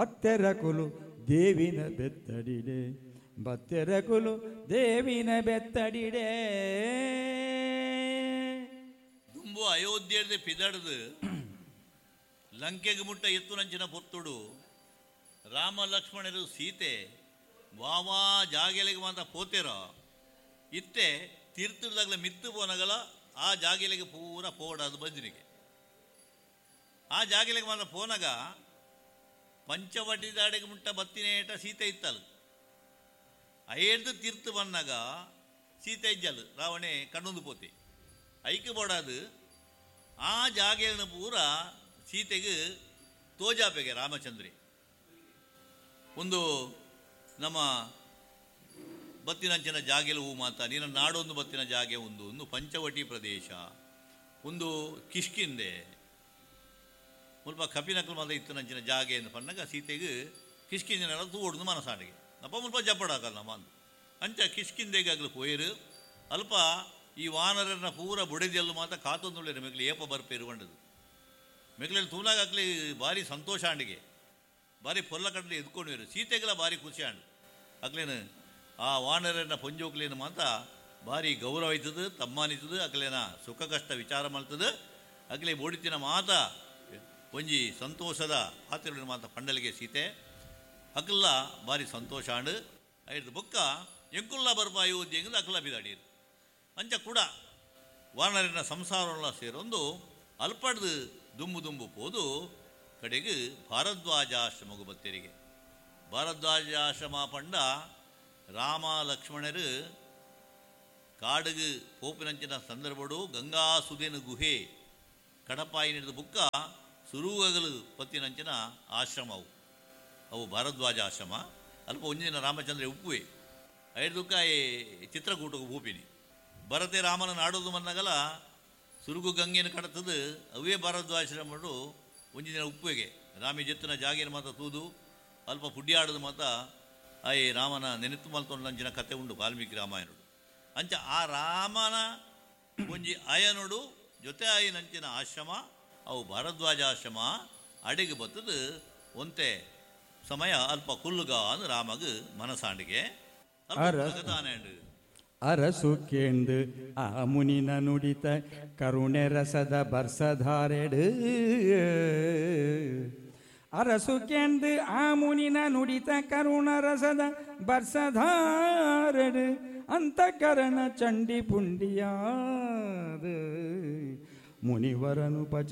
ಬತ್ತೆರಕುಲು ದೇವಿನ ಬೆತ್ತಡಿಡೆ, ಬತ್ತೆರಕುಲು ದೇವಿನ ಬೆತ್ತಡಿಡೆ. ದುಂಬು ಅಯೋಧ್ಯೆರ್ದ್ ಪಿದಡ್ದ್ ಲಂಕೆಗ್ ಮುಟ್ಟ ಎತ್ತುನಂಚಿನ ಪೊರ್ತುಡು ರಾಮ ಲಕ್ಷ್ಮಣರು ಸೀತೆ ವಾವಾ ಜಾಗೆಲೆಗ್ ಮಾತ ಪೋತೆರ. ಇತ್ತೆ ತೀರ್ಥದಾಗಲ ಮಿತ್ತು ಪೋನಗಲ ಆ ಜಾಗೆಲೆಗ್ ಪೂರ ಪೋಡಾದ್ ಬಂಜಿನಿಗೆ. ಆ ಜಾಗೆಲೆಗ್ ಮಾತ ಪೋನಗ ಪಂಚವಟಿದಾಡೆಗ್ ಮುಟ್ಟ ಬತ್ತಿನೇಟ ಸೀತೆ ಇತ್ತಲ್. ಅಯೇರ್ದು ತೀರ್ಥ ಬನ್ನಗ ಸೀತೆ ಇಜ್ಜಲ್, ರಾವಣೆ ಕಣ್ಣೊಂದು ಪೋತೆ. ಐಕ್ ಬೋಡಾದು ಆ ಜಾಗೆಯನ್ನು ಪೂರ ಸೀತೆಗೆ ತೋಜಾಪೆಗೆ ರಾಮಚಂದ್ರೆ. ಒಂದು ನಮ್ಮ ಬತ್ತಿನಂಚಿನ ಜಾಗೆಲು ಹೂ ಮಾತ ನೀನ ನಾಡೊಂದು ಬತ್ತಿನ ಜಾಗೆ ಒಂದು ಒಂದು ಪಂಚವಟಿ ಪ್ರದೇಶ, ಒಂದು ಕಿಷ್ಕಿಂದೆ ಮುಲ್ಪ ಕಪಿನಕಲ್ ಮಾತ ಇತ್ತಿನಂಚಿನ ಜಾಗೆ ಎಂದು ಪನ್ನಗ ಸೀತೆಗೆ ಕಿಷ್ಕಿಂದಿನ ತೂವೊಡ್ದು ಮನಸಾಂಡಿಗೆ ಅಪ್ಪ ಮುಲ್ಪ ಜಪ್ಪಡಾಕಲ್ಲ ನಮ್ಮ ಅಂದು. ಅಂಚ ಕಿಷ್ಕಿಂದೆಗಾಗಲು ಪೋಯರು. ಅಲ್ಪ ಈ ವಾನರನ್ನ ಪೂರ ಬುಡೆದೆಲ್ಲು ಮಾತ ಕಾತೊಂದುಳ್ಳೇರು ಮೆಗ್ಲು ಏಪ ಬರ್ಪೇರು ಬಂಡದು. ಮೆಗ್ಲೆಲ್ಲಿ ತೂನಾಗಕ್ಲಿ ಭಾರಿ ಸಂತೋಷ ಆಂಡಿಗೆ, ಭಾರಿ ಪೊಲ್ಲ ಕಡಲೆ ಎದ್ಕೊಂಡಿರು. ಸೀತೆಗೆಲ್ಲ ಭಾರಿ ಖುಷಿ ಆಂಡು. ಅಕ್ಲೇನು ಆ ವಾನರನ್ನ ಪೊಂಜೋಕ್ಲೇನು ಮಾತ ಭಾರಿ ಗೌರವ ಆಯ್ತದ, ತಮ್ಮಾನಿತದ, ಅಕ್ಲೇನ ಸುಖ ಕಷ್ಟ ವಿಚಾರ ಮಾಡ್ತದ. ಅಕ್ಲೆ ಬೋಡಿತಿನ ಮಾತ ಒಂಜಿ ಸಂತೋಷದ ಆತಿರುಳಿನ ಮಾತ ಪಂಡಲಿಗೆ ಸೀತೆ ಅಕ್ಲ ಭಾರಿ ಸಂತೋಷ ಆಂಡು. ಐದು ಬೊಕ್ಕ ಎಂಕುಲ್ಲ ಬರ್ಪ ಅಯೋಧ್ಯೆಂದು ಅಕ್ಲ ಬಿದಾಡಿರು. ಅಂಚ ಕೂಡ ವಾನರನ ಸಂಸಾರಲ್ಲ ಸೇರೊಂದು ಅಲ್ಪಡ್ದು ದುಂಬು ದುಂಬು ಪೋದು ಕಡೆಗೆ ಭಾರದ್ವಾಜಾಶ್ರಮಗು ಬತ್ತೇರಿಗೆ. ಭಾರದ್ವಾಜಾಶ್ರಮ ಪಂಡ ರಾಮ ಲಕ್ಷ್ಮಣರು ಕಾಡುಗು ಪೋಪಿನಂಚಿನ ಸಂದರ್ಭಡು ಗಂಗಾಸುದೇನ ಗುಹೆ ಕಡಪಾಯಿ ನಡೆದ ಬುಕ್ಕ ಸುರುಗಲು ಪತ್ತಿನಂಚಿನ ಆಶ್ರಮವು ಅವು ಭಾರದ್ವಾಜ ಆಶ್ರಮ. ಅಲ್ಪ ಒಂಜಿನ ರಾಮಚಂದ್ರ ಉಪ್ಪುವೆ ಐದುಕ್ಕ ಈ ಚಿತ್ರಕೂಟಕ್ಕೆ ಭೂಪಿನಿ ಭರತೆ ರಾಮನ ನಾಡೋದು ಮನ್ನಗಲ ಸುರುಗು ಗಂಗೆನ ಕಡತದು ಅವೇ ಭಾರದ್ವಾಜಾಶ್ರಮಡು ಒಂಜಿ ದಿನ ಉಪ್ಪುವೆಗೆ ರಾಮಿ ಜೆತ್ತಿನ ಜಾಗೇನ ಮಾತ ತೂದು ಅಲ್ಪ ಪುಡ್ಯಾಡದು ಮಾತ ಆಯ್ ರಾಮನ ನೆನೆತು ಮಲ್ತೊಂಡಂಚಿನ ಕತೆ ಉಂಡು ವಾಲ್ಮೀಕಿ ರಾಮಾಯಣಡು. ಅಂಚ ಆ ರಾಮನ ಒಂಜಿ ಅಯನುಡು ಜೊತೆ ಆಯಿನಂಚಿನ ಆಶ್ರಮ ಅವು ಭಾರದ್ವಾಜ ಆಶ್ರಮ. ಅಡಿಗೆ ಬತ್ತದು ಒಂತೆ ಸಮಯ ಅಲ್ಪ ಕುಲ್ಲುಗ ಅಂದ್ ರಾಮಗ್ ಮನಸಾಂಡಿಗೆ ಅಲ್ಪ ತಾನೇ. ಅರಸು ಕೇಂದು ಆ ಮುನಿನ ನುಡಿತ ಕರುಣೆ ರಸದ ಬರ್ಸಧಾರೆಡು, ಅರಸು ಕೇಂದು ಆ ಮುನಿನ ನುಡಿತ ಕರುಣ ರಸದ ಬರ್ಸಧಾರೆಡು ಅಂತಃಕರಣ ಚಂಡಿ ಪುಂಡಿಯಾದ ಮುನಿವರನು ಪಚ